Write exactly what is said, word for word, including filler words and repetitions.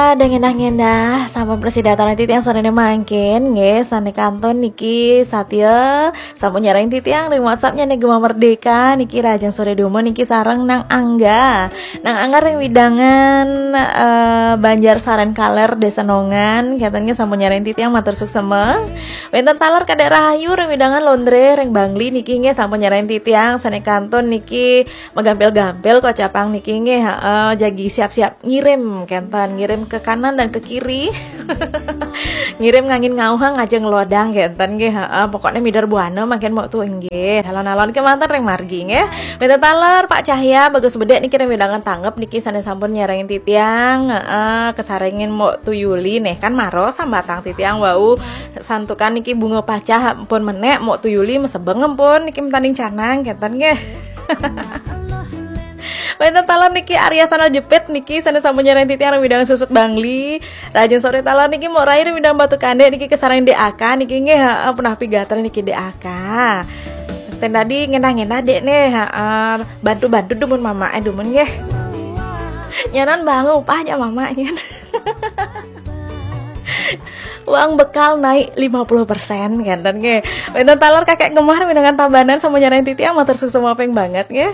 Ada ngendah-ngendah, sampun prasida titiang sorene mangkin, nggih, sane kantun niki Satya, sampun nyarengin titiang ring WhatsApp-ne Gema Merdeka, niki rahajeng sore dumun niki sareng Nang Angga. Nang Angga ring wewidangan, eh, Banjar Saren Kaler, Desa Nongan, kenten nggih sampun nyarengin titiang matur suksema. Wenten taler Kadek Rahayu ring wewidangan Londre, ring Bangli niki nggih sampun nyarengin titiang, sane kantun niki magampil-gampil kocapang niki nggih, heeh, jagi siap-siap ngirim kenten, ngirim ke kanan dan ke kiri. Ngirim ngangin ngauhang aja ngelodang kenten nggih, heeh, pokoknya mider buana mangkin mok tu nggih. Alon-alon kemanten ring margi nggih. Minta taler Pak Cahya, bagus bedek niki ring wewidangan Tanggep niki sane sampun nyarengin titiang, heeh, kasarengin mok tu Yuli nih kan maro sambatang titiang wau santukan niki bunga pacah pun menek mok tu Yuli mesebeng pun niki mentaning canang kenten nggih. Wenten taler niki Arya Sandal Jepit niki sane sampun nyarengin titiang ring wewidangan Susut Bangli. Rahajeng sore taler niki mok rai ring wewidangan Batu Kande niki kasarengin D A K niki nggih, heeh, punah pigatra niki D A K. Ten dadi ngenah-ngenah dek nih, heeh, bantu-bantu dumun mamake dumun nggih. Nyanan bangun upahnya mamake. Uang bekal naik lima puluh persen kenten nggih. Wenten taler Kakek Gemah ring wewidangan Tabanan sampun nyarengin titiang matur suksema ping banget nggih.